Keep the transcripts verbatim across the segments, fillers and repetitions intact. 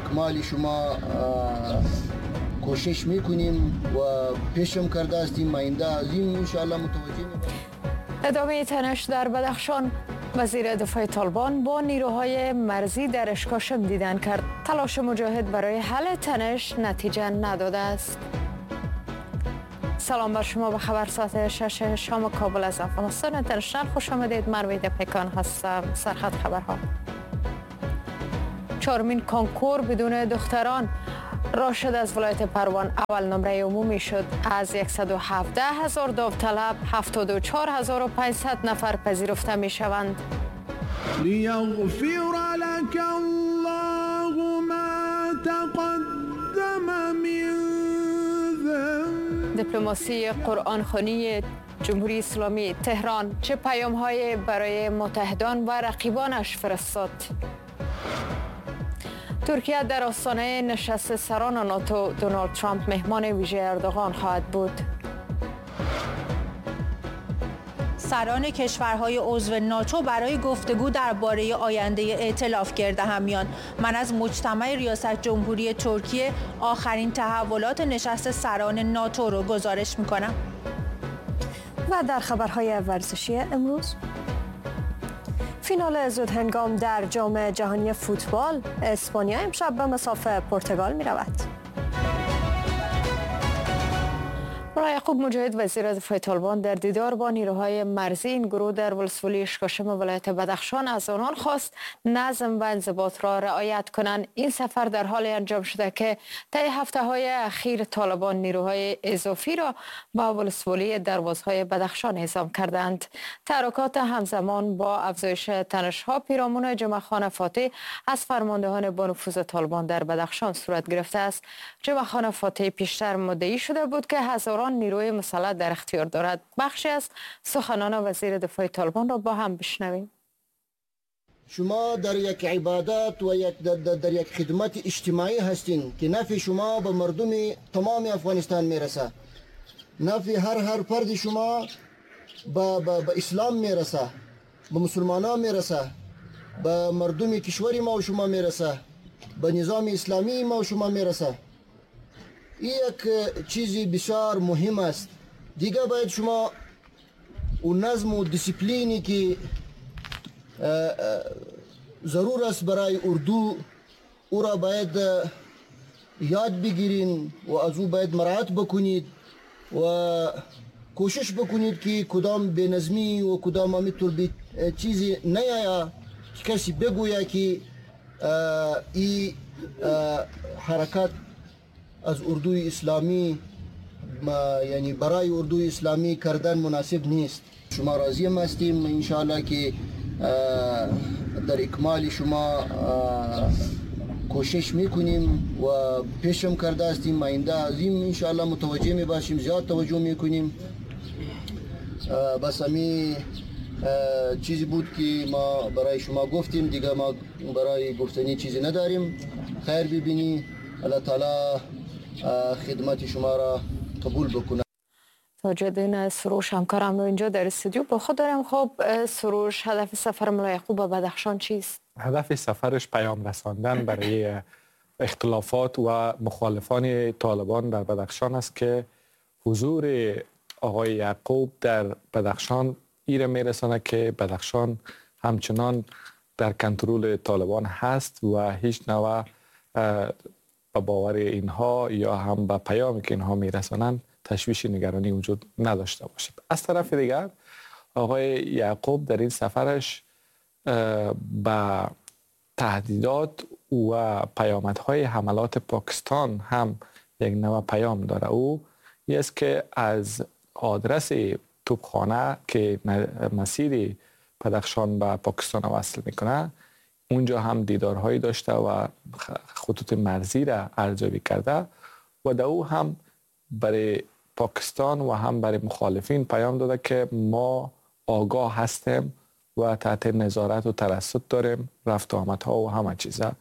اکمال شما کوشش میکنیم و پیشم کرده هستیم. آینده عظیم انشاءالله متوجه میباشیم. ادامه تنش در بدخشان، وزیر دفاع طالبان با نیروهای مرزی در اشکاشم دیدن کرد. تلاش مجاهد برای حل تنش نتیجه نداده است. سلام بر شما، به خبر ساعت شش شام کابل از افغانستان اینترنشنال خوش آمدید. مرویده پیکان هستم. سرخط خبرها: چهارمین کنکور بدون دختران، راشد از ولایت پروان اول نمره عمومی شد. از صد و هفده هزار داوطلب هفتاد و چهار هزار و پانصد نفر پذیرفته می شوند. لیغفر لك الله ما تقدم من ذنبك. دیپلماسی قرآن خوانی جمهوری اسلامی تهران چه پیام های برای متحدان و رقیبانش فرستاد؟ ترکیه در آستانه نشست سران ناتو، دونالد ترامپ مهمان ویژه اردوغان خواهد بود. سران کشورهای عضو ناتو برای گفتگو درباره آینده ائتلاف گرد هم میان. من از مجتمع ریاست جمهوری ترکیه آخرین تحولات نشست سران ناتو رو گزارش میکنم. و در خبرهای ورزشی امروز، فینال زود هنگام در جام جهانی فوتبال، اسپانیا امشب به مسافه پرتغال می رود. یعقوب مجاهد وزیر دفاع طالبان در دیدار با نیروهای مرزی این گروه در ولسوالی اشکاشم ولایت بدخشان از آنان خواست نظم و انضباط را رعایت کنند. این سفر در حال انجام شده که طی هفته های اخیر طالبان نیروهای اضافی را با ولسوالی دروازهای بدخشان اعزام کردند. تحرکات همزمان با افزایش تنش‌ها پیرامون جمعه خان فاتح از فرماندهان با نفوذ طالبان در بدخشان صورت گرفته است. جمعه خان فاتح پیشتر مدعی شده بود که هزاران نیروی مسلح در اختیار دارد. بخشی از سخنان وزیر دفاع طالبان را با هم بشنویم. شما در یک عبادت و یک در, در, در یک خدمت اجتماعی هستین که نفع شما به مردم تمام افغانستان میرسه. نفع هر هر فرد شما به, به, به اسلام میرسه، به مسلمانان میرسه، به مردم کشور ما و شما میرسه، به نظام اسلامی ما و شما میرسه. این یک چیزی بسیار مهم است. دیگه باید شما و نظم و دیسیپلینی که ضرور است برای اردو او را باید یاد بگیرین و از او باید مراعات بکنید و کوشش بکنید که کدام بی‌نظمی و کدام همینطور بی چیزی نیاید که کسی بگوید که این حرکت از اردوی اسلامی یعنی برای اردوی اسلامی کردن مناسب نیست. شما راضی هستیم انشاءالله که در اکمال شما کوشش میکنیم و پیشم کرده هستیم. آینده عظیم انشاءالله متوجه میباشیم، زیاد توجه میکنیم. بس همی چیزی بود که ما برای شما گفتیم. دیگه ما برای گفتنی چیزی نداریم. خیر ببینی، الله تعالی خدمت شما را قبول بکنه. تاجدین سروش همکارم رو اینجا در استودیو با خود دارم. خب سروش، هدف سفر ملا یعقوب به بدخشان چیست؟ هدف سفرش پیام رساندن برای اختلافات و مخالفان طالبان در بدخشان است که حضور آقای یعقوب در بدخشان ایره میرسانه که بدخشان همچنان در کنترل طالبان هست و هیچ نوع به باور اینها یا هم به پیامی که اینها میرسانند تشویش نگرانی وجود نداشته باشد. از طرف دیگر آقای یعقوب در این سفرش به تهدیدات و پیامدهای حملات پاکستان هم یک نوع پیام داره. او این است که از آدرس توپخانه که مسیر بدخشان به پاکستان وصل میکنه اونجا هم دیدارهایی داشته و خطوط مرزی را ارزیابی کرده و در او هم برای پاکستان و هم برای مخالفین پیام داده که ما آگاه هستیم و تحت نظارت و ترصد داریم رفت و آمدها و همه چیزا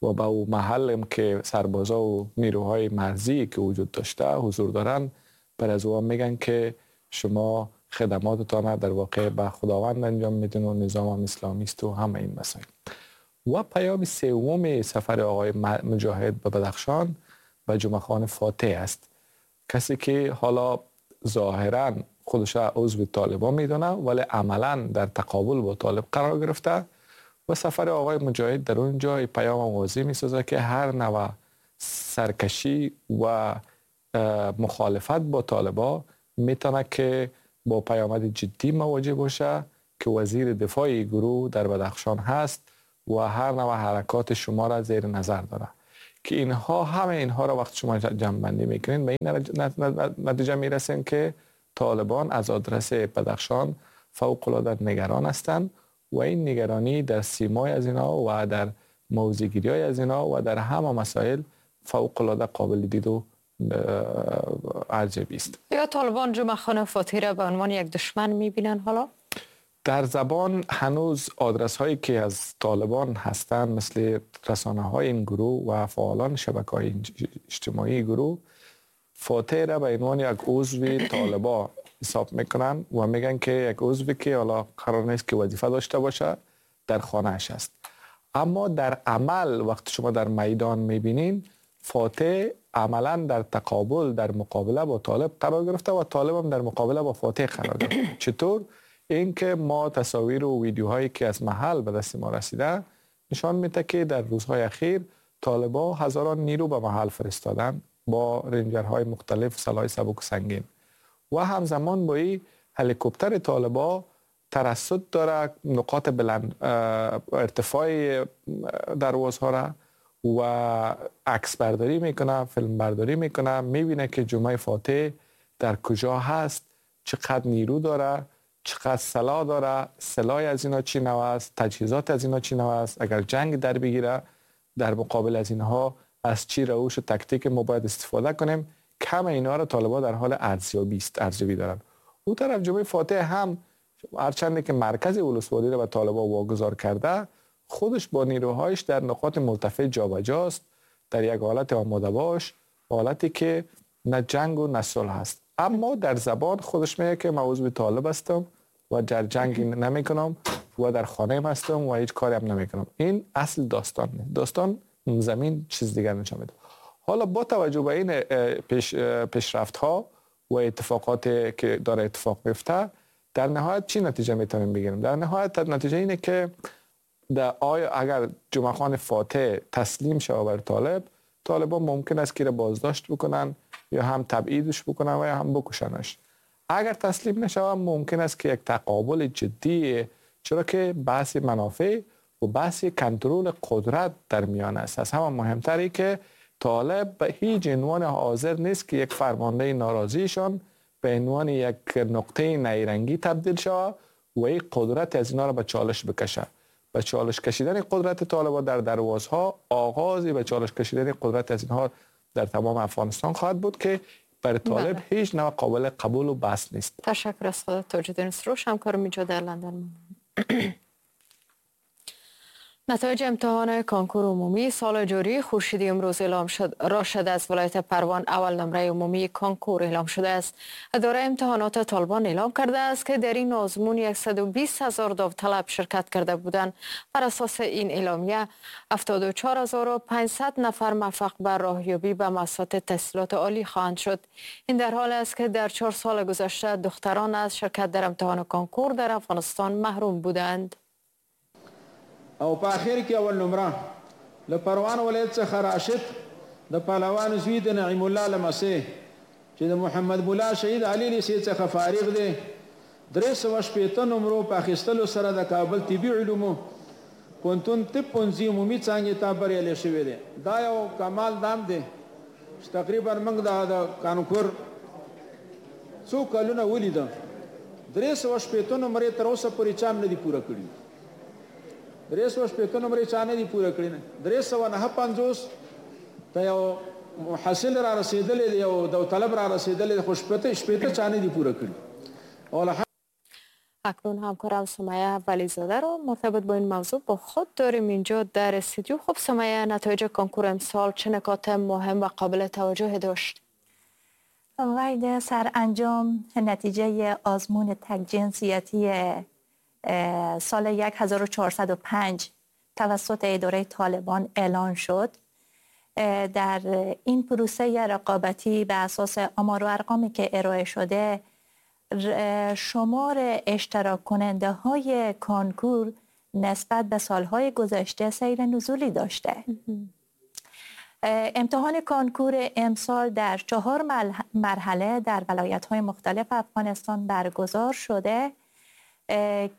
و به او محلم که سربازا و نیروهای مرزی که وجود داشته حضور دارن بر از او میگن که شما خدماتتان در واقع به خداوند انجام میدین و نظام هم اسلامی است و همه این مسائل. و پیام سوم سفر آقای مجاهد به بدخشان و جمعه خان فاتح است، کسی که حالا ظاهراً خودش عضو طالبان میدونه ولی عملاً در تقابل با طالب قرار گرفته و سفر آقای مجاهد در اونجا پیام واضح میسازه که هر نوع سرکشی و مخالفت با طالبا میتونه که با پیامد جدی مواجه باشه که وزیر دفاع گروه در بدخشان هست و هر نوع حرکات شما را زیر نظر داره که اینها همه اینها را وقت شما جمع بندی میکنین به این نتیجه میرسین که طالبان از آدرس بدخشان فوق العاده نگران هستند و این نگرانی در سیمای از اینا و در موضع‌گیری های از اینا و در همه مسائل فوق العاده قابل دید و عجیب است. یا طالبان جمعه خان فاتح را به عنوان یک دشمن میبینن؟ حالا در زبان هنوز آدرس هایی که از طالبان هستند مثل رسانه های این گروه و فعالان شبکه های اجتماعی گروه فاتح را به عنوان یک عضو طالبا حساب میکنن و میگن که یک عضوی که حالا قرار نیست که وظیفه داشته باشه در خانه‌اش است. اما در عمل وقتی شما در میدان میبینین فاتح عملا در تقابل در مقابله با طالب قرار گرفته و طالب هم در مقابله با فاتح قرار گرفته. چطور؟ اینکه ما تصاویر و ویدیوهایی که از محل به دست ما رسیده نشان میده که در روزهای اخیر طالبا هزاران نیرو به محل فرستادن با رنجرهای مختلف، سلاح سبک و سنگین و همزمان با این هلیکوپتر طالبا ترصد داره نقاط بلند ارتفاع دروازها را و عکس برداری میکنه، فیلم برداری میکنه، میبینه که جمعه فاتح در کجا هست، چقدر نیرو داره، چقدر سلاح داره، سلاح از اینا چی نوع است، تجهیزات از اینا چی نوع است، اگر جنگ در بگیره در مقابل از اینها از چی روش و تکتیک ما باید استفاده کنیم. کم اینا را طالبان در حال ارزیابی است، ارزیابی دارن. او طرف جمعه فاتح هم هرچند که مرکز ولسوالی را به طالبان واگذار کرده، خودش با نیروهایش در نقاط مرتفع جابجاست، در یک حالت آماده باش، حالتی که نه جنگ و نه صلح هست. اما در زبان خودش میگه که من عضو طالب هستم و در جنگ نمیکنم و در خانه هستم و هیچ کاری هم نمیکنم. این اصل داستان نیست. داستان زمین چیز دیگر نشان میده. حالا با توجه به این پیش پیشرفت ها و اتفاقات که داره اتفاق میفته، در نهایت چی نتیجه میتونیم بگیریم؟ در نهایت نتیجه اینه که در آیا اگر جمعه خان فاتح تسلیم شود بر طالب، طالبان ممکن است که را بازداشت بکنن یا هم تبعیدش بکنن و یا هم بکشنش. اگر تسلیم نشود ممکن است که یک تقابل جدی، چرا که بحث منافع و بحث کنترل قدرت در میان است. از همه مهمتری که طالب به هیچ عنوان حاضر نیست که یک فرمانده ناراضیشان به عنوان یک نقطه نیرنگی تبدیل شود و یک قدرت از اینا را به چالش بکشه. به چالش کشیدن قدرت طالبان در دروازها آغازی به چالش کشیدن قدرت از اینها در تمام افغانستان خواهد بود که برای طالب هیچ نوع قابل قبول و بس نیست. تشکر از خدا تاج‌الدین سروش، همکارم اینجا در لندن. نتایج امتحان کنکور عمومی سال جاری خورشیدی امروز اعلام شد. راشد از ولایت پروان اول نمره عمومی کنکور اعلام شده است. اداره امتحانات طالبان اعلام کرده است که در این آزمون صد و بیست هزار داوطلب شرکت کرده بودند. بر اساس این اعلامیه هفتاد و چهار هزار و پانصد نفر موفق به راهیابی به مؤسسات تحصیلات عالی خواهند شد. این در حال است که در چهار سال گذشته دختران از شرکت در امتحان کنکور در افغانستان محروم بودند. او په اخر کې اول نمره له پروان ولایت څخه راشد د پهلوان زوی د نعیم الله لمسې چې د محمد مولا شهید علي لیسې څخه فارغ دی، درې سوه شپېته نمرو په اخیستلو سره د کابل طبي علومو پوهنتون طب پوهنځي عمومي څانګې ته بریالی شوی دی. دا یو کمال دام دی چې تقریبا موږ د کانکور څو کلونه ولیده، درې سوه شپېته نمرې تر اوسه پورې چا هم نه دي پوره کړي. درې سوه شپېته نمرې چا نه دي پوره کړي. درې سوه نهه پنځوس ته یو محصل را رسېدلی دی، یو داوطلب را رسېدلی دی، خو شپېته شپېته چا نه دي پوره کړي. اکنون همکارم سمیه ولیزاده رو مرتبط با این موضوع با خود داریم اینجا در استودیو. خب سمیه، نتایج کنکور امسال چه نکات مهم و قابل توجه داشت؟ وید سرانجام نتیجه آزمون تک جنسیتی سال هزار و چهارصد و پنج توسط اداره طالبان اعلان شد. در این پروسه رقابتی به اساس آمار و ارقامی که ارائه شده، شمار اشتراک کننده های کنکور نسبت به سالهای گذشته سیر نزولی داشته. امتحان کنکور امسال در چهار مرحله در ولایت‌های مختلف افغانستان برگزار شده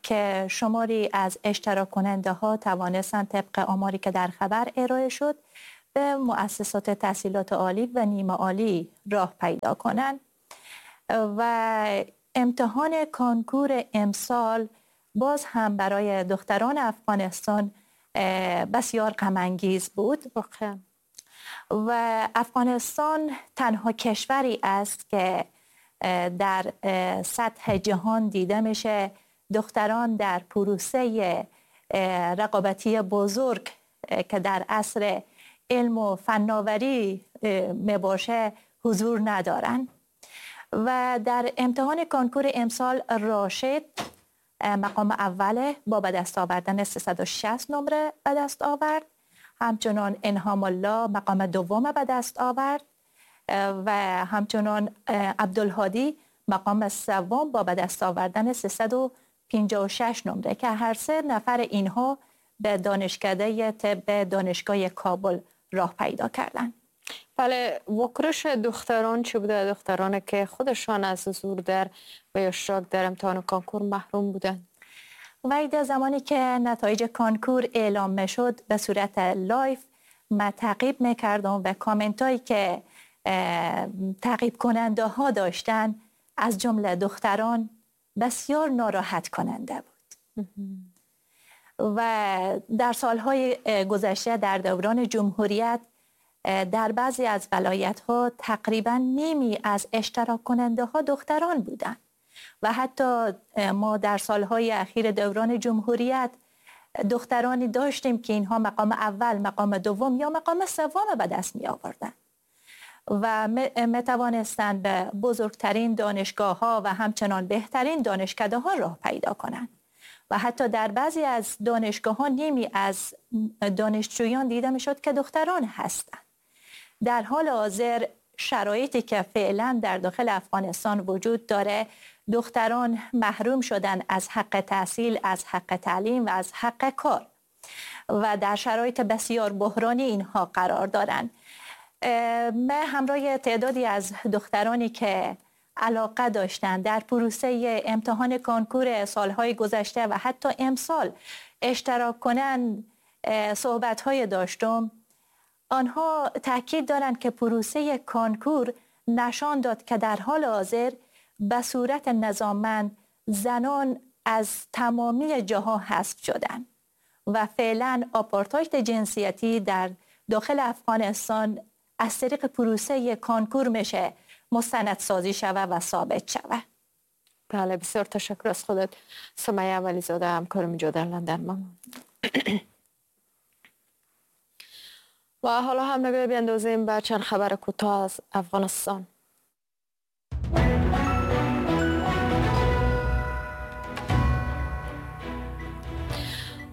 که شماری از اشتراک کننده ها توانستند طبق آماری که در خبر ارائه شد به مؤسسات تحصیلات عالی و نیمه عالی راه پیدا کنند. و امتحان کنکور امسال باز هم برای دختران افغانستان بسیار غم انگیز بود. واقعا. و افغانستان تنها کشوری است که در سطح جهان دیده میشه دختران در پروسه رقابتی بزرگ که در عصر علم و فناوری میباشه حضور ندارن. و در امتحان کنکور امسال راشد مقام اول با به دست آوردن سیصد و شصت نمره به دست آورد. همچنان انهام الله مقام دوم به دست آورد و همچنان عبدالهادی مقام سوم با به دست آوردن سیصد و پنجاه و شش نمره که هر سه نفر اینها به دانشکده طب دانشگاه کابل راه پیدا کردند. بله، واکنش دختران چه بوده؟ دختران که خودشان از حضور در و یا اشتراک در امتحان کنکور محروم بودند. و زمانی که نتایج کنکور اعلام میشد به صورت live من تعقیب میکردم و کامنت هایی که تعقیب کننده ها داشتن از جمله دختران بسیار ناراحت کننده بود. و در سالهای گذشته در دوران جمهوریت در بعضی از ولایت ها تقریبا نیمی از اشتراک کننده ها دختران بودند و حتی ما در سالهای اخیر دوران جمهوریت دخترانی داشتیم که اینها مقام اول، مقام دوم یا مقام سوم به دست می آوردن و می توانستند به بزرگترین دانشگاه ها و همچنان بهترین دانشکده ها راه پیدا کنند. و حتی در بعضی از دانشگاه ها نیمی از دانشجویان دیده می شد که دختران هستند. در حال حاضر شرایطی که فعلا در داخل افغانستان وجود داره، دختران محروم شدن از حق تحصیل، از حق تعلیم و از حق کار و در شرایط بسیار بحرانی اینها قرار دارند. من همراه تعدادی از دخترانی که علاقه داشتند در پروسه امتحان کنکور سالهای گذشته و حتی امسال اشتراک کنند صحبت‌های داشتم. آنها تاکید دارند که پروسه کنکور نشان داد که در حال حاضر به صورت نظاممند زنان از تمامی جاها حذف شدند و فعلا آپارتاید جنسیتی در داخل افغانستان از طریق پروسه کنکور میشه مستندسازی شوه و ثابت شوه. بله، بسیار تشکر از خودت سمیه ولی‌زاده، همکارم اینجا در لندن. ممنون. و حالا هم نگاه بیندازیم به چند خبر کوتاه از افغانستان.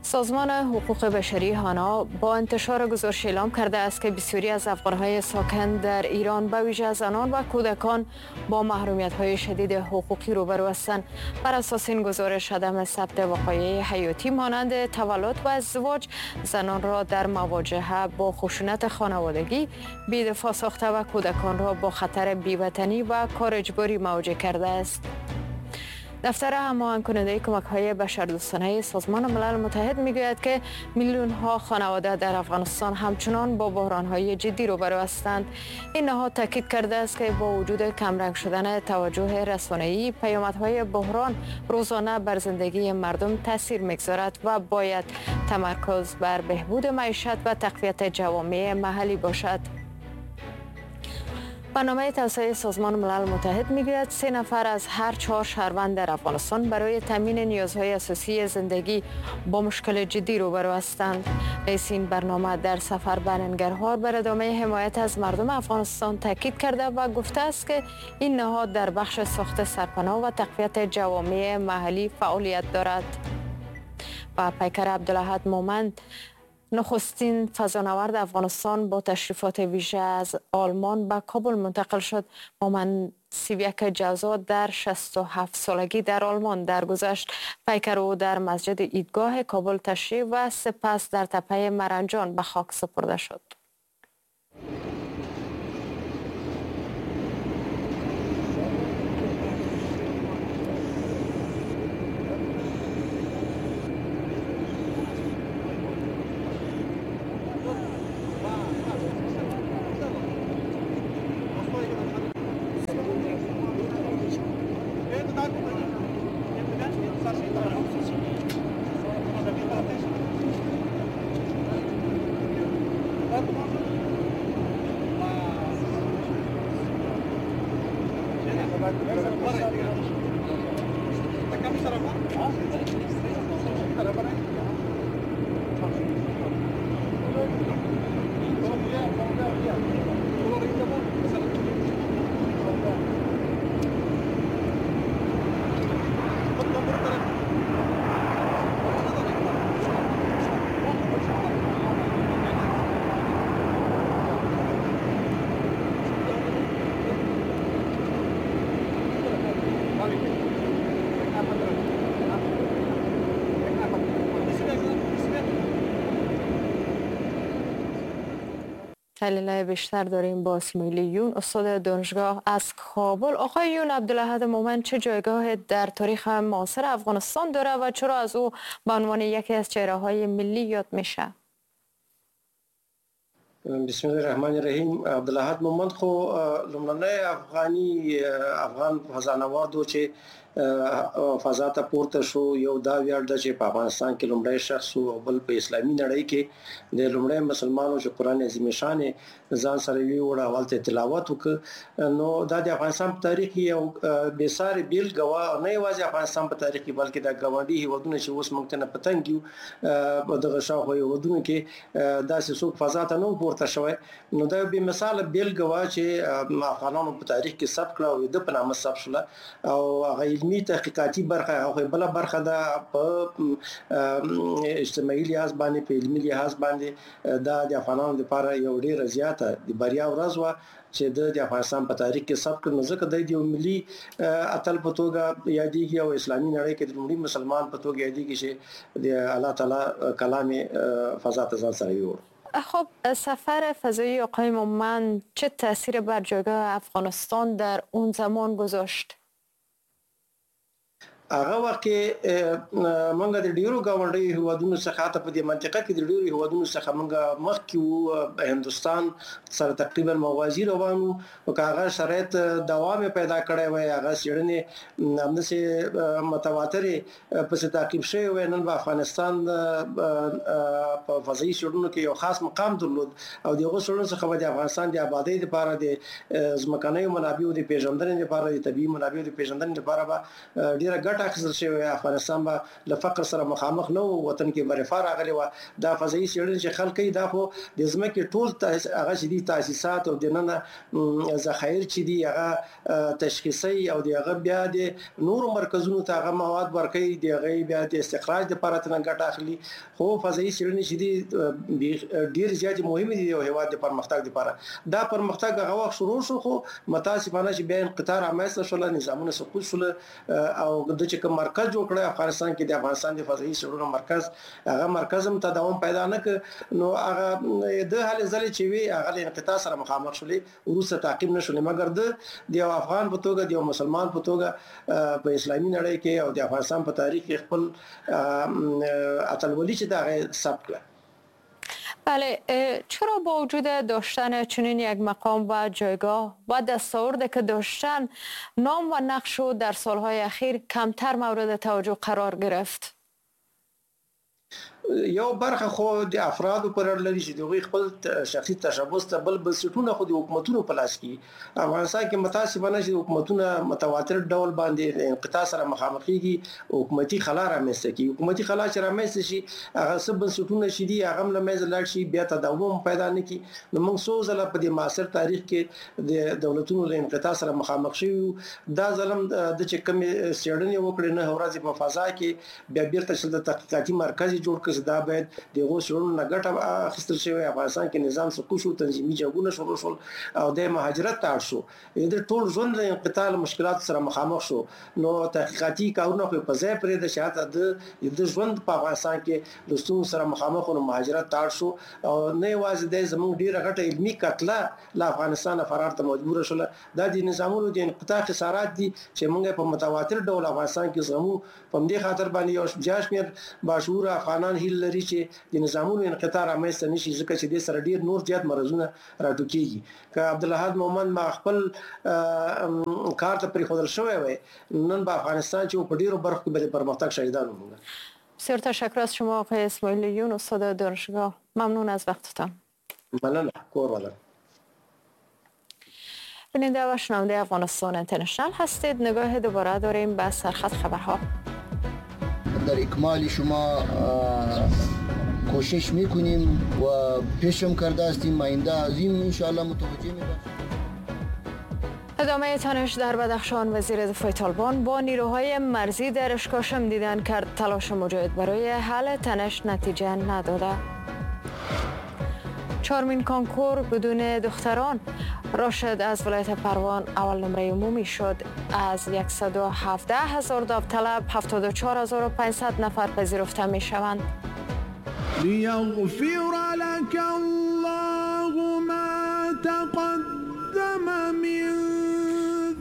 سازمان حقوق بشری هانا با انتشار گزارش اعلام کرده است که بسیاری از افغانهای ساکن در ایران به ویژه زنان و کودکان با محرومیت‌های شدید حقوقی روبرو هستند. بر اساس این گزارش، عدم ثبت وقایع حیاتی مانند تولد و ازدواج زنان را در مواجهه با خشونت خانوادگی بی‌دفاع ساخته و کودکان را با خطر بی‌وطنی و کار اجباری مواجه کرده است. دفتر هماهنگ کننده کمک‌های بشردوستانه سازمان ملل متحد میگوید که میلیون‌ها خانواده در افغانستان همچنان با بحران‌های جدی روبرو هستند. این نهاد تاکید کرده است که با وجود کمرنگ شدن توجه رسانه‌ای، پیامدهای بحران روزانه بر زندگی مردم تاثیر می‌گذارد و باید تمرکز بر بهبود معیشت و تقویت جوامع محلی باشد. برنامه توسعه سازمان ملل متحد میگوید سه نفر از هر چهار شهروند در افغانستان برای تامین نیازهای اساسی زندگی با مشکل جدی روبرو هستند. رئیس این برنامه در سفر به ننگرهار بر ادامه حمایت از مردم افغانستان تاکید کرده و گفته است که این نهاد در بخش ساخت سرپناه و تقویت جوامع محلی فعالیت دارد. و پیکر عبدالاحد مومند نخستین فضانورد افغانستان با تشریفات ویژه از آلمان به کابل منتقل شد. مومند سی و یک جوزا در شصت و هفت سالگی در آلمان درگذشت. پیکر او در مسجد عیدگاه کابل تشییع و سپس در تپه مرنجان به خاک سپرده شد. تحلیل بیشتر داریم با اسماعیل یون، استاد دانشگاه از کابل. آقای یون، عبدالاحد مومند چه جایگاه در تاریخ معاصر افغانستان داره و چرا از او به عنوان یکی از چهره‌های ملی یاد میشه؟ بسم الله الرحمن الرحیم. عبدالاحد مومند خو لومړنی افغاني افغان فضانورد و چې فضا ته پورته شو. یو دا ویاړ ده چې په افغانستان کې لومړی شخص او بل په اسلامي نړۍ کې د لومړی مسلمانو چې قرآن عظیم شان ځان سره ویوړ او هلته تلاوت وکړ. نو دا د افغانستان په تاریخ کې یو بې ساري بېلګه وه، نه یوازې افغانستان په تاریخ کې بلکې د ګاونډي هېوادونه چې اوس موږ ته نه په تنګ یو په دغه شاوخوا هېوادونو کې داسې څوک فضا ته نه و پورته شوی. نو دا یو بې مثاله بېلګه وه چې افغانانو په تاریخ کې ثبت کړه او د ده په نامه ثبت شوله. او هغه علمي تحقیقاتي برخه هغه بله برخه ده په اجتماعي لحاظ باندې، په علمي لحاظ باندې دا د افغانانو لپاره یو ډېره زیاته د بریا ورځ وه چې د افغانستان په تاریخ کې ثبت کړ. نو ځکه دی د یو ملي اتل په توګه یادېږي او اسلامي نړۍ کې د لومړي مسلمان په توګه یادېږي چې د الله تعالی کلام فضا ته ځان سره یووړ. خب سفر فضایی آقای مومند چه تاثیر بر جایگاه افغانستان در اون زمان گذاشت؟ هغه وخت کې موږ د ډیرو ګاونډیو هیوادونو څخه، حتی په دې منطقه کې د ډیرو هیوادونو څخه موږ مخکې وو. هندوستان سره تقریبا موازي روان وو، او که هغه شرایط دوام پیدا کړی وای، هغه څېړنې همداسې متواترې پسې تعقیب شوې وای، نن به افغانستان په فضایي څېړنو کې یو خاص مقام درلود او د هغو څېړنو څخه به د افغانستان د آبادۍ لپاره، د ځمکنیو منابعو د پېژندنې لپاره، د طبیعي منابعو د پېژندنې لپاره به ډېره ګټه اخیستل شوی. افغانستان به له فقر سره مخامخ نه و، وطن کې به رفاه راغلې وه. دا فضایي څېړنې چې خلک کوي، دا خو د ځمکې ټول هغه چې دي تاسیسات او دننه ذخایر چې دي هغه تشخیصوي او د هغه بیا د نورو مرکزونو ته هغه مواد ورکوي، د هغې بیا د استخراج لپاره ترې ګټه اخلي. خو فضایي څېړنې چې دي ډېر زیاتې مهمې دي یو هېواد د پرمختګ لپاره. دا پرمختګ هغه وخت شروع شو، خو متاسفانه چې بیا انقطاع رامنځته شوله، نظامونه سقوط شول او د چې کوم مرکز جوړ کړی افغانستان کې د افغانستان د فضایي څېړنو مرکز، هغه مرکز هم تداوم پیدا نه کړ. نو هغه د هلې ځلې چې وي هغه له انقطاع سره مخامخ شولې، وروسته تعقیب نه شولې. مګر د د یو افغان په توګه، د یو مسلمان په توګه په اسلامي نړۍ کې او د افغانستان په تاریخ کې خپل اتلولي چې د هغه ثبت کړه. بله، چرا با وجود داشتن چنین یک مقام و جایگاه و دستاورد که داشتن، نام و نقش او در سالهای اخیر کمتر مورد توجه قرار گرفت؟ یو برخه خو د افرادو پر اړه لري چې د هغوی خپل شخصي تشبث ته، بل بنسټونه خو د حکومتونو په لاس کې. افغانستان کې متاسفانه چې حکومتونه متواتر ډول باندې انقطاع سره مخامخېږي، حکومتي خلا رامنځته کېږي. حکومتي خلا چې رامنځته شي، هغه څه بنسټونه چې دي هغه هم له منځه لاړ شي، بیا تداوم هم پیدا نه کړي. نو موږ څو ځله په دې معاصر تاریخ کې د دولتونو له انقطاع سره مخامخ شوي یو. دا ځل هم د چې کومې څېړنې وکړې، نهه ورځې په فضا کې، بیا بېرته چې د تحقیقاتي مرکز جوړ کړ، ځکه چې دا باید د هغو څېړنو نه ګټه اخیستل شوې. افغانستان کې نظام سقوط شو، تنظیمي جنګونه شروع شول او دی مهاجرت ته اړ شو. د ټول ژوند له انقطاع له مشکلاتو سره مخامخ شو. نو تحقیقاتي کارونه خو په ځای پرېږده چې حتی د د ژوند په افغانستان کې له ستونزو سره مخامخ نو مهاجرت ته اړ شو. او نه یوازې دی، زموږ ډېره غټه علمي کتله له افغانستانه فرار ته مجبوره شوله. دا د نظامونو د انقطاع خسارات دي چې موږ په متواتر ډول افغانستان کې زغمو. په همدې خاطر باندې یو زیات شمېر باشعوره افغانان هیله لري چې د نظامونو انقطاع رامنځته نه شي، ځکه چې دې سره ډېر نور زیات مرضونه راټوکېږي. که عبدالحد مومند ما خپل کار ته پرېښودل شوی وای، نن به افغانستان چې په ډېرو برخو کې به د پرمختګ شاهدان وو. بسیار تشکر از شما آقای اسماعیل یون، استاد دانشگاه. ممنون از وقتتان. مننه، کور ودان. بیننده و شنونده افغانستان اینترنشنال هستید. نگاه دوباره داریم به سرخط خبرها. در اکمال شما کوشش میکنیم و پیشم کرده هستیم. آینده عظیم انشاءالله متوجه میباشیم. ادامه تنش در بدخشان، وزیر دفاع طالبان با نیروهای مرزی در اشکاشم دیدن کرد. تلاش مجاهد برای حل تنش نتیجه نداده. چهارمین کانکور بدون دختران، راشد از ولایت پروان اول نمره عمومی شد. از صد و هفده هزار داوطلب هفتاد و چهار هزار و پانصد نفر پذیرفته می شوند. لیغفر لك الله ما تقدم من.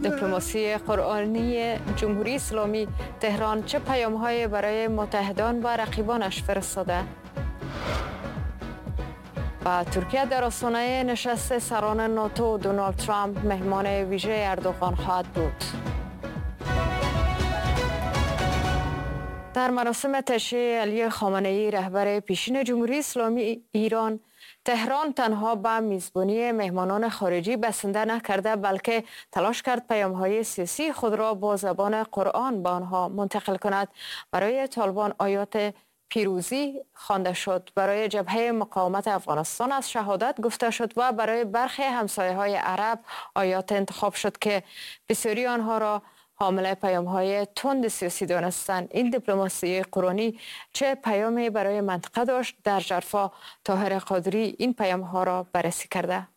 دیپلماسی قرآنی جمهوری اسلامی، تهران چه پیام‌های برای متحدان و رقیبانش فرستاده؟ و ترکیه در آستانه نشست سران ناتو، دونالد ترامپ مهمان ویژه اردوغان خواهد بود. در مراسم تشییع علی خامنه‌ای رهبر پیشین جمهوری اسلامی ایران، تهران تنها به میزبانی مهمانان خارجی بسنده نکرده، بلکه تلاش کرد پیام‌های سیاسی خود را با زبان قرآن به آنها منتقل کند. برای طالبان آیات پیروزی خوانده شد، برای جبهه مقاومت افغانستان از شهادت گفته شد و برای برخی همسایه‌های عرب آیات انتخاب شد که بسیاری آنها را حامل پیام‌های تند سیاسی دانستند. این دیپلماسی قرآنی چه پیامی برای منطقه داشت؟ در جرفا طاهر قادری این پیام‌ها را بررسی کرده.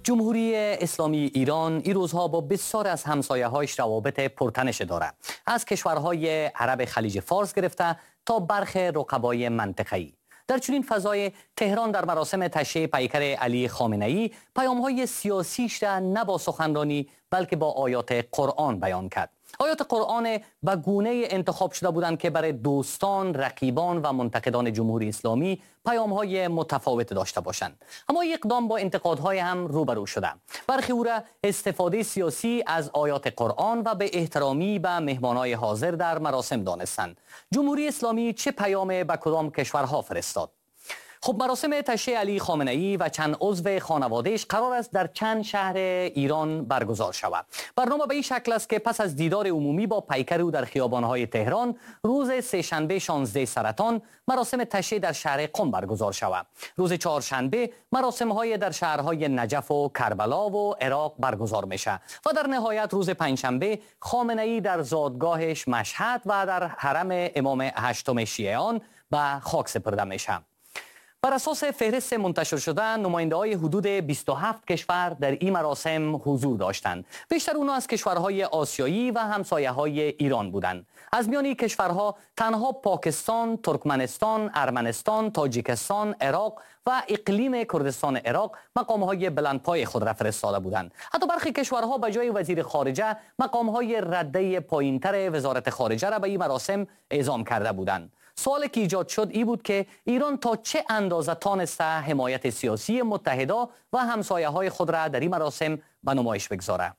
جمهوری اسلامی ایران این روزها با بسیار از همسایه‌هایش روابط پرتنش دارد، از کشورهای عرب خلیج فارس گرفته تا برخی رقبای منطقه‌ای. در چنین فضای تهران در مراسم تشییع پیکر علی خامنه‌ای پیام‌های سیاسیش را نه با سخنرانی بلکه با آیات قرآن بیان کرد. آیات قرآن به گونه انتخاب شده بودند که برای دوستان، رقیبان و منتقدان جمهوری اسلامی پیام‌های متفاوت داشته باشند. اما اقدام با انتقادهای هم روبرو شده. برخی او را استفاده سیاسی از آیات قرآن و به احترامی به مهمانای حاضر در مراسم دانستند. جمهوری اسلامی چه پیام به کدام کشورها فرستاد؟ خب مراسم تشییع علی خامنه‌ای و چند عضو خانوادهش قرار است در چند شهر ایران برگزار شود. برنامه به این شکل است که پس از دیدار عمومی با پیکر او در خیابان‌های تهران، روز سه‌شنبه شانزده سرطان مراسم تشییع در شهر قم برگزار شود. روز چهارشنبه مراسم‌های در شهرهای نجف و کربلا و عراق برگزار میشه و در نهایت روز پنجشنبه خامنه‌ای در زادگاهش مشهد و در حرم امام هشتم شیعیان به خاک سپرده میشه. بر اساس فهرست منتشر شده، نماینده‌های حدود بیست و هفت کشور در این مراسم حضور داشتند. بیشتر اونا از کشورهای آسیایی و همسایه‌های ایران بودند. از میان این کشورها تنها پاکستان، ترکمنستان، ارمنستان، تاجیکستان، عراق و اقلیم کردستان عراق مقام‌های بلندپای خود را فرستاده بودند. حتی برخی کشورها به جای وزیر خارجه مقام‌های رده پایین‌تر وزارت خارجه را به این مراسم اعزام کرده بودند. سوالی که ایجاد شد ای بود که ایران تا چه اندازه تانسته حمایت سیاسی متحدا و همسایه‌های خود را در این مراسم به نمایش بگذاره.